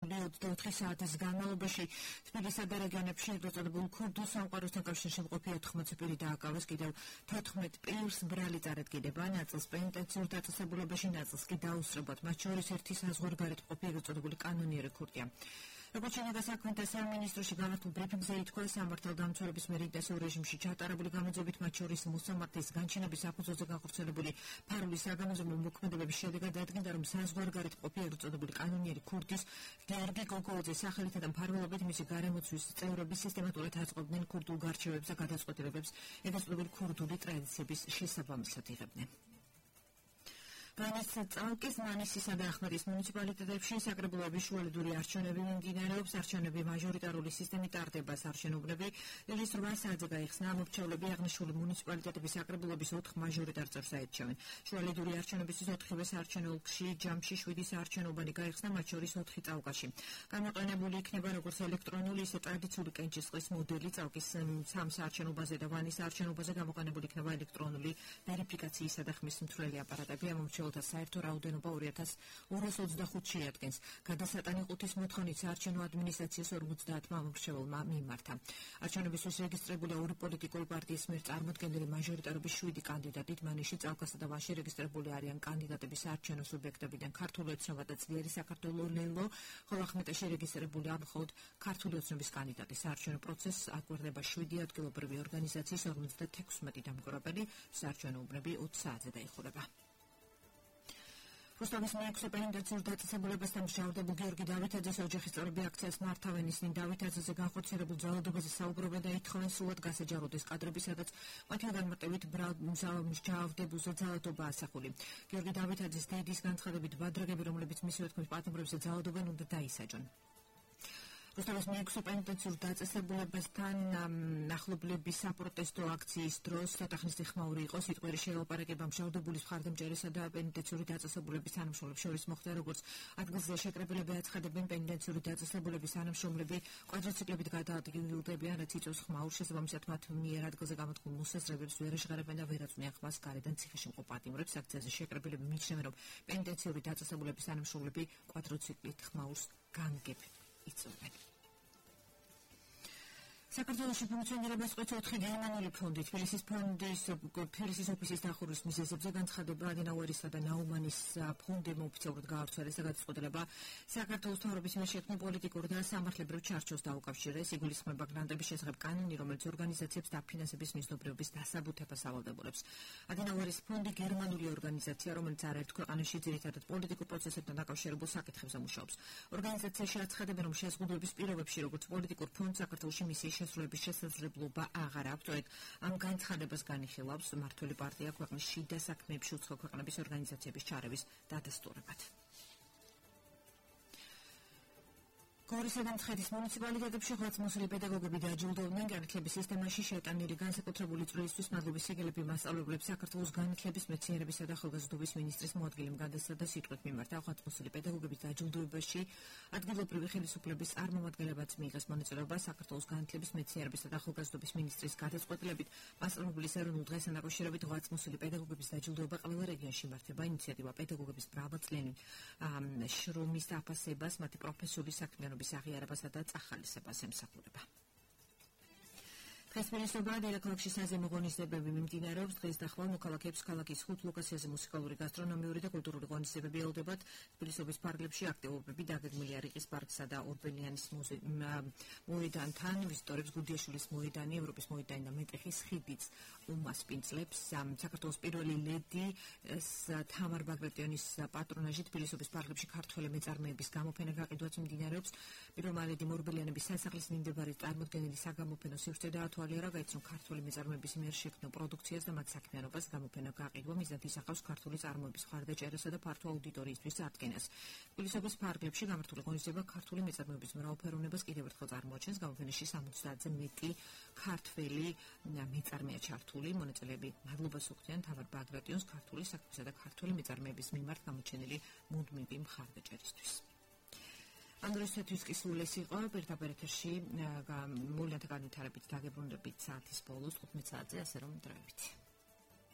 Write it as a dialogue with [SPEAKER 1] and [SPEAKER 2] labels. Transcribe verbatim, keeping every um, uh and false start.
[SPEAKER 1] ოცდაოთხი საათის განმავლობაში თბილისსა და რეგიონებში ეგრეთწოდებულ ქურდულ სამყაროსთან კავშირში მყოფი ოთხმოცი პირი დააკავეს, კიდევ თოთხმეტ პირს ბრალი წარადგინება, ნაწილს პენიტენციურ დაწესებულებაში, ნაწილს კი დაუსწრებად, მათ შორის ერთი საზღვარგარეთ მყოფი ეგრეთწოდებული კანონიერი ქურდია. როგორც შინაგან საქმეთა სამინისტროში გამართულ ბრიფინგზე ითქვა, სამართალდამცველების მიერ ინტენსიურ რეჟიმში ჩატარებული გამოძიებით, მათ შორის მოსამართლის განჩინების საფუძველზე განხორციელებული ფარული საგამოძიებო მოქმედებების შედეგად დადგინდა, რომ საზღვარგარეთ მყოფი ეგრეთწოდებული კანონიერი ქურდის გიორგი გოგოლაძის სახელითა და მფარველობით მისი გარემოცვის წევრები სისტემატურად აწყობდნენ ქურდულ გარჩევებს და გადაწყვეტილებებს ეგრეთწოდებული ქურდული ტრადიციების შესაბამისად იღებდნენ. განაცხადა წალკის, მანისისა და ახმეტის მუნიციპალიტეტებში საკრებულოების შუალედური არჩევნები მიმდინარეობს. არჩევნები მაჟორიტარული სისტემით ტარდება. არჩევნები დღეს რვა საათზე გაიხსნა. ამორჩევლები აღნიშნული მუნიციპალიტეტების საკრებულოების ოთხ მაჟორიტარ წევრს აირჩევენ. შუალედური არჩევნებისთვის ოთხივე საარჩევნო ოლქში ჯამში შვიდი საარჩევნობანი გაიხსნა, მათ შორის ოთხი წალკაში. გამოყენებული იქნება როგორც ელექტრონული, ისე ტრადიციული კენჭისყრის მოდელი. წალკის სამ საარჩენობაზე და ვანის საარჩენობაზე გამოყენებული იქნება ელექტრონული ვერიფიკაციისა და ხმის მთვრელი აპარატები. ამორჩევლთა საერთო რაოდენობა ორი ათას ორას ოცდახუთს შეადგენს. გადასატანი ყუთის მოთხოვნით საარჩევნო ადმინისტრაციას ორმოცდაათმა ამორჩეველმა მიმართა. არჩევნებისთვის რეგისტრირებულია ორი პოლიტიკური პარტიის მიერ წარმოდგენილი მაჟორიტარობის შვიდი კანდიდატით. მანიში, წალკასა და ვანში რეგისტრირებული არიან კანდიდატები საარჩევნო სუბიექტებიდან ქართული ოცნება და ძლიერი საქართველო ლელო, ხოლო ახმეტეში რეგისტრირებულია მხოლოდ ქართული ოცნების კანდიდატი. საარჩევნო პროცესს აკვირდება შვიდი ადგილობრივი ორგანიზაციის ორმოცდათექვსმეტი დამკვირვებელი. საარჩევნო უბნები ოც საათზე დაიხურება. რუსთავის მეექვსე პენიტენციურ დაწესებულებასთან მჟავდებულ გიორგი დავითაძეს ოჯახის წევრები აქციას მართავენ. ისინი დავითაძეზე განხორციელებულ ძალადობაზე საუბრობენ და ითხოვენ სულად გასაჯაროდეს კადრები, სადაც მათი განმარტებით მჟავდებულზე ძალადობა ასახული. გიორგი დავითაძის დედის განცხადებით, ბადრაგები, რომლებიც მისივე თქმის პატიმრებზე ძალადობენ, უნდა დაისაჯონ. რუსთავის მეექვსე პენიტენციურ დაწესებულებასთან ახლობლების საპროტესტო აქციის დროს ცოტახნის ხმაური იყო. სიტყვიერი შეელაპარაკება მჟავდებულის მხარდამჭერისა და პენიტენციური დაწესებულების თანამშრომლებს შორის მოხდა, როგორც ადგილზე შეკრებილები აცხადებენ. პენიტენციური დაწესებულების თანამშრომლები კვადროციკლებით გადაადგილდებიან, რაც იწვევს ხმაურს. შესაბამისად, მათ მიერ ადგილზე გამოთქმულ მოსაზრებებს ვერ ეჟღერებენ და ვერ აწვნიან ხმას გარედან ციხეში მყოფ პატიმრებს. აქციაზე შეკრებილები მიიჩნევენ, რომ პენიტენციური დაწესებულების თანამშრომლები კვადროციკლით ხმაურს განგებ იწვევენ. საქართველოში ფუნქციონირებას ყვეთ ოთხი გერმანული ფონდი. თბილისის ფონდის თბილისის ოფისის დახურვის მიზეზებზე განცხადება ადენაუერისა და ნაუმანის ფონდმა ოფიციალურად გაავრცელეს და გადაწყვეტილება საქართველოს მთავრობის მიერ შექმნილ პოლიტიკურ და სამართლებრივ ჩარჩოს დაუკავშირეს. იგულისხმება გრანტების შესახებ კანონი, რომელიც ორგანიზაციებს დაფინანსების მიზნობრიობის დასაბუთებას ავალდებულებს. ადენაუერის ფონდი გერმანული ორგანიზაცია, რომელიც არაერთ ქვეყანაში ძირითადად პოლიტიკურ პროცესებთან დაკავშირებულ საკითხებზე მუშაობს. ორგანიზაციაში აცხადებენ, რომ შეზღუდვების პირობებში, როგორც პოლიტიკურ ფონდს, საქართველოში მისიის შესრულების შესაძლებლობა აღარ აქვს. სწორედ ამ განცხადებას განიხილავს მმართველი პარტია ქვეყნის შიდა საქმეებში უცხო ქვეყნების ორგანიზაციების ჩარევის დადასტურებად. გორისა და მცხეთის მუნიციპალიტეტებში ღვაწლმოსილი პედაგოგები დააჯილდოვდნენ. განათლების სისტემაში შეტანილი განსაკუთრებული წვლილისთვის მადლობის სიგელები მასწავლებლებს საქართველოს განათლების, მეცნიერებისა და ახალგაზრდობის მინისტრის მოადგილემ გადასცა და სიტყვით მიმართა. ღვაწლმოსილი პედაგოგების დააჯილდოებაში ადგილობრივი ხელისუფლების წარმომადგენლებაც მიიღეს მონაწილეობა. საქართველოს განათლების, მეცნიერებისა და ახალგაზრდობის მინისტრის გადაწყვეტილებით მასწავლებლის ეროვნულ დღესთან დაკავშირებით ღვაწლმოსილი პედაგოგების დააჯილდოება ყველა რეგიონში იმართება. ინიციატივა პედაგოგების მრავალწლიანი შრომის აფასებას, მათი პროფესიული საქმიანობის აღიარებასა და წახალისებას ემსახურება. დღეს თბილისში დედაქალაქში საზემო ღონისძიებები მიმდინარეობს. დღეს და ხვალ მოქალაქეებს ქალაქის ხუთ ლოკაციაზე მუსიკალური, გასტრონომიური და კულტურული ღონისძიებები ელოდებათ. თბილისის პარკებში აქტივობები დაგეგმილია რიყის პარკსა და ორბელიანის მოედანთან. ვიზიტორებს გუდიაშვილის მოედანი, ევროპის მოედანი და მეტეხის ხიდიც უმასპინძლებს. საქართველოს პირველი ლედი თამარ ბაგრატიონის პატრონაჟით თბილისის პარკებში ქართველი მეწარმეების გამოფენა გაყიდვაც მიმდინარეობს. პირველმა ლედიმ ორბელიანების სასახლის მიმდებარე წარმოდგენილი საგამოფენო სივრცე და თვალიერა გაიცნო ქართული მეწარმეების მიერ შექმნილ პროდუქციას და მათ საქმიანობას. გამოფენა გაყიდვა მიზნად ისახავს ქართული წარმოების მხარდაჭერასა და ფართო აუდიტორიისთვის წარდგენას. თბილისის პარკებში გამართული ღონისძიება ქართული მეწარმეების მრავალფეროვნებას კიდევ ერთხელ წარმოაჩენს. გამოფენაში სამოცდაათზე მეტი ქართველი მეწარმეა ჩართული. მონაწილეები მადლობას უხდიან თამარ ბაგრატიონს ქართული საქმისა და ქართული მეწარმეების მიმართ გამოჩენილი მუდმივი მხარდაჭერისთვის. ამ დროისათვის კი სულ ეს იყო. პირდაპირ ეთერში მოვლენათა განვითარებით დაგებრუნდებით საათის ბოლოს თხუთმეტ საათზე, ასე რომ დროებით.